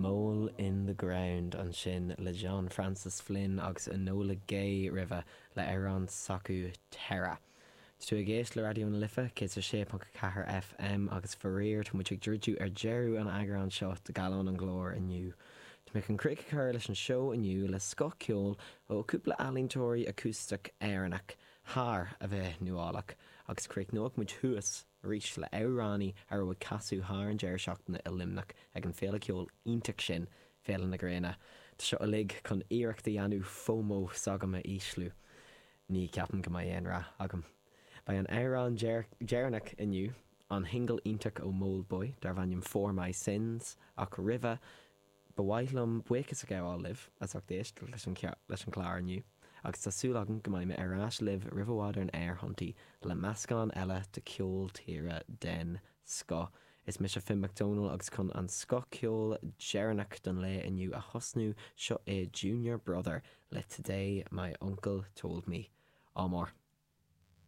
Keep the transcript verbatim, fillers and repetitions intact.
Mole in the Ground ansin le John Francis Flynn agus Enola Gay roimhe le amhrán s'acu Terra. Tú ag éisteacht le Raidió na Life céad sé ponc ceathair FM agus faraor tá muid ag druidim ar deireadh an eagrán seo de Gallán an Ghlóir inniu. Tá mé chun críoch a chur leis an seó inniu le scoth ceoil ó cúpla ealaíontóirí acústach Éireannach thar a bheith nuálach agus críochnóidh muid thuas arís le amhránaí a raibh ag casadh thar an deireadh seachtaine i Luimneach ag an féile ceoil iontach sin Féile na Gréine. Tá seo uilig chun iarracht a dhéanamh FOMO s'agam a ísliú. Ní ceapaim go mbeidh aon rath agam. Beidh an amhrán deireanach inniu an shingil iontach ó Mouldboy darb ainm For My Sins ach roimhe ba mhaith liom buíochas a ghabháil libh as ucht éisteacht leis an leis an chlár inniu. agus tá súil agam go mbeidh mé ar ais libh roimh i bhfad ar an aerthonntaí le meascán eile de ceol tíre den scoth. Is mise Finn McDonald agus chun an scoth ceol deireanach don lae inniu a thosnú seo é Junior Brother le Today My Uncle Told Me. Ádh mór.